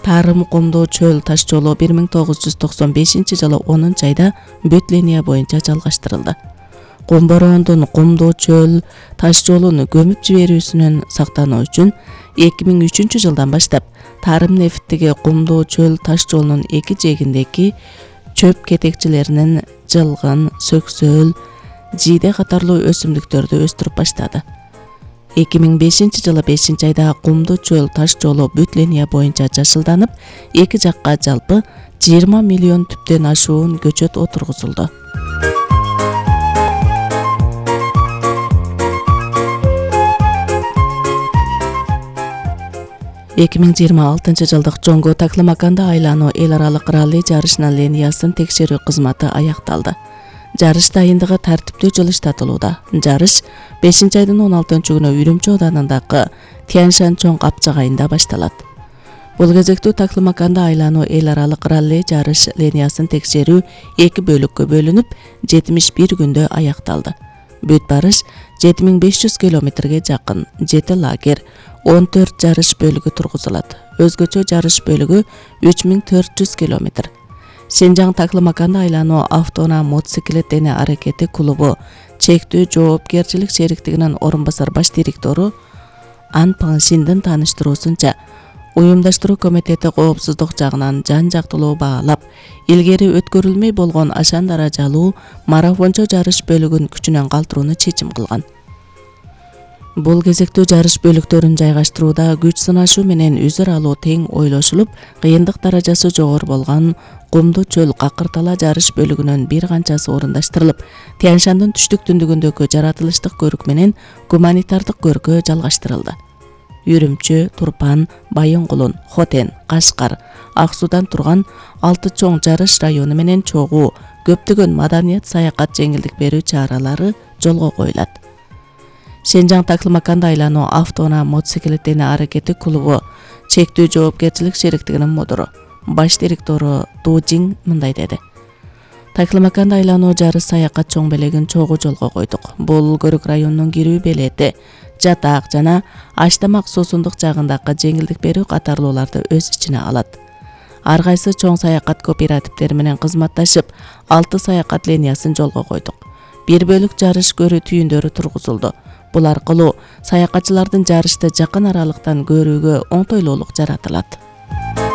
Тарым Кумдуу чөл таш жолу 1995-жылы 10-айда бүт линия боюнча жалгаштырылды. Кум бороондун Кумдуу чөл таш жолун көмүп жиберүүсүнөн сактануу үчүн 2003-жылдан баштап Тарым нефттеги Кумдуу чөл таш жолунун эки жээгиндеги чөп кетекчилеринин жылгын, сөксөөл, жийде катарлуу өсүмдүктөрдү өстүрүп баштады. 2005-жылы 5-айда Кумдуу чөл таш жолу бүт линия боюнча жашылданып, эки жакка жалпы 20 миллион түптөн ашуун көчөт отургузулду. жылдык Жоңго Таклымаканда айлануу эл аралык ралли жарышынын линиясын текшерүү кызматы аякталды. Жарыш дайындыгы тартиптүү жылыштатылууда. Жарыш 5-айдын 16-күнү Үрүмчү ооданындагы Тяньшань чоң капчыгайында башталат. Бул кезектүү Таклымаканда айлануу эл аралык ралли жарыш линиясын текшерүү 2 бөлүккө бөлүнүп, 71 күндө аякталды. Бүт барыш 7500 километрге жакын 7 лагерь, 14 жарыш бөлүгү тургузулат. Өзгөчө жарыш бөлүгү 3400 километр. Сенжаң Таклымаканда айлануу автоунаа мотоциклет дене аракети клубу чектүү жоопкерчилик шериктигинин орун басар баш директору Ан Паңшиндин тааныштыруусунча, уюмдаштыруу комитети коопсуздук жагынан жан-жактылуу баалап, илгери өткөрүлмөй болгон ашан даражалуу марафончо жарыш бөлүгүн күчүнөн калтырууну чечим кылган. Бул кезектүү жарыш бөлүктөрүн жайгаштырууда күч сынашуу менен үзүр алуу тең ойлошулуп, кыйындык даражасы жогору болгон Кумдуу чөл какыртала жарыш бөлүгүнөн бир канчасы орундаштырылып, Тяньшандын түштүк түндүгүндөгү жаратылыштык көрүк менен гуманитардык көркө жалгаштырылды. Үрүмчү, Турпан, Байынгулун, Хотен, Кашкар, Ак Суудан турган 6 чоң жарыш району менен чогуу көптөгөн маданият саякат жеңилдик берүү чаралары жолго коюлат. Сенжаң Таклымаканда айлануу автоунаа мотоциклет дене аракети клубу чектүү жоопкерчилик шериктигинин мудуру, баш директору Ду Жиң мындай деди. Таклымаканда айлануу жарыш саякат чоң белегин чогуу жолго койдук. Бул көрүк районунун кирүү белети, жатак жана аштамак суусундук жагындагы жеңилдик берүү катарлууларды өз ичине алат. Ар кайсы чоң саякат кооперативдери менен кызматташып, 6 саякат линиясын жолго койдук. Бир бөлүк жарыш көрүү түйүндөрү тургузулду. Бул аркылуу саякатчылардын жарышты жакын аралыктан көрүүгө оңтойлуулук жаратылат.